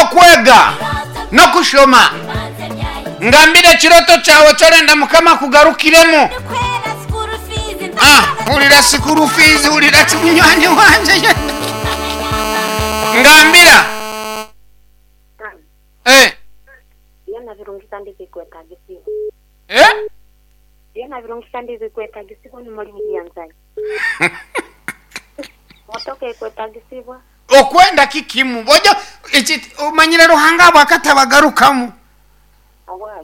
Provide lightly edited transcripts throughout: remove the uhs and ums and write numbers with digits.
okwega n'okushoma. Ngambira ekiroto kyawe eki orenda Mukama akugarukiremu. Ah, hurira sikuru fiizi, hurira ki munywani wangye. Ngambira. Eh. Byona birungi kandi bikwetagisibwa. Eh? Byona birungi kandi bikwetagisibwa omu murimo gyanzanye. Motoka ekwetagisibwa. Okwenda kikimu. Ojo eki omanyire Ruhanga abo akatabagarukamu.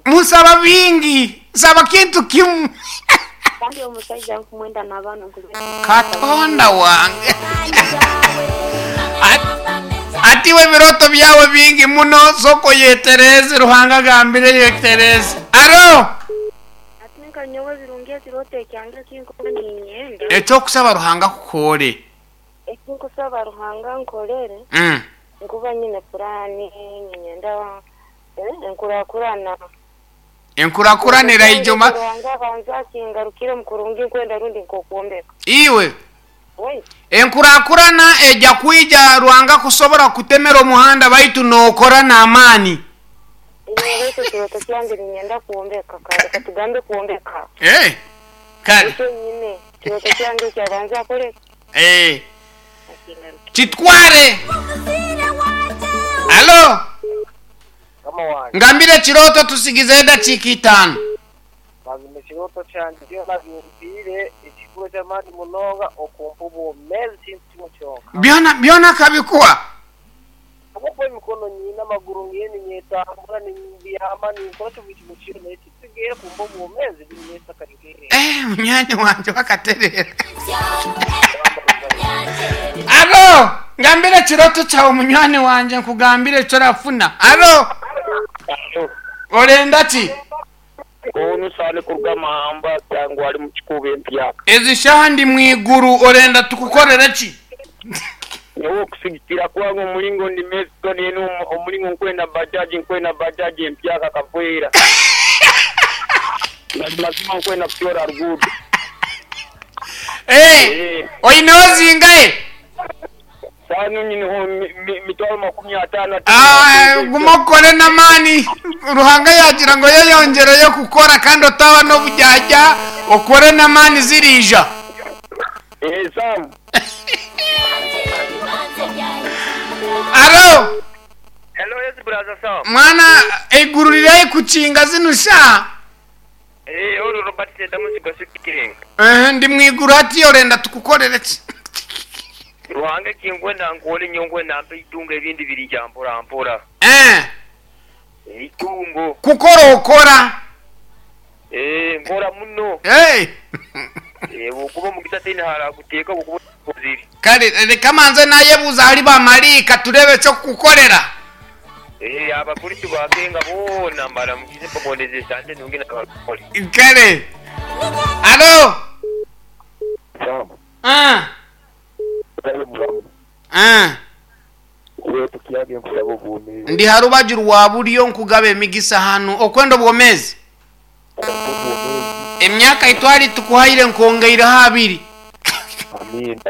Musaba bingi, saba kintu kimu. Kandi omusaija nkumwenda n'abaana nkumwenda. Katonda wange. Ati iwe ebiroto byawe bingi muno, sooka oyetereeze, Ruhanga agambire yetereeze. Aro! Ati nka nyowe ebirungi ekiroto ekyange eki nkuba niinyenda. Eky'okusaba Ruhanga akukoore. Eki nkusaba Ruhanga ankorere, nkuba nyine puraani, niinyenda Enkurakurana. Enkurakurana eraija omu. Ruhanga abanze akingarukiremu kurungi nkwenda rundi nk'okwombeka. Iwe. Waitu. Enkurakurana eja kwija Ruhanga kusobora kukutemera omuhanda baitu nokora n'amaani. Iwe baitu ekirooto kyange niinyenda kwombeka kare katugambe kwombeka. Eh, kare. Nikyo nyine ekirooto kyange ekyo abanze akore ki? Eh. Akingarukiremu. Kitware. Alo. Mukama wangye. Ngambira ekirooto tutsigizeho edakiika itaano. Mazima ekirooto kyangye byona bimpiire ekikuru eky'amaani munonga okumpa obwomeezi kintu kimwe kyonka. Byona byona akabikuha. Ahabw'okuba emikono nyine, amaguru ngiine, ninyetambura, nimbyama, ninkora buri kimwe kyona, ekitsigaire kumpa obwomeezi binyesa kare nk'eihembe. Eh, munywani wangye wakatereera. Alo, ngambira ekirooto kyawe munywani wangye nkugambire eki orafuna. Alo, orenda ki? Onu Sale kuruga Mahamba cyangwa ari mu Kikuubo empyaka. Ezi shaaha ndi mu iguru orenda tukukorere ki? Nyowe okusigikira kwange omulingo ndi Mexico nenu omulingo nkwenda bajaji nkwenda bajaji empyaka kavwera. Mazima nkwenda kutyora ruguudo. Eh, oineho zingahe? Saano nyineho mitwaro 50. Ah, guma okore n'amaani. Ruhanga yaagira ngu oyeyongyereyo kukora kandi otaba n'oburyarya, okore n'amaani ziriija. Eh, Sam. Alo! Hello, yes, brother Sam. Mwana, eiguru riri haihi kukinga zinu shaaha. Eh, oru Robert Sentamu Nsigo Speaking. Ehe, ndi mwiguru hatiya orenda tukukorere ki? Ruhanga ekinkwenda nkore nyowe nkwenda ampe eitungo ebindi biriija mpora mpora. Eh. Eitungo. Kukora okora. Eh, nkora muno. Hey. Eh, bwokuba omugisa tihaine aharakuteeka bwokuba okozire. Kare reka manze nayebuuza ahari bamaraika tureebe eky'okukukorera. Eh, Abakristo ba Kenga boona mbaramukize mbagondeze esande nungi na Abarokore. Kare. Alo. Sam, Ah. Kale muramu. Ah. Ekirooto kyange nkusaba obwomeezi. Ndi ha rubaju rwa buryo nkugaba emigisa hanu. Okwenda obwomeezi? Ompe obwomeezi. Emyaka ei twari tukuhaire nkwongeireho abiri. Amiina.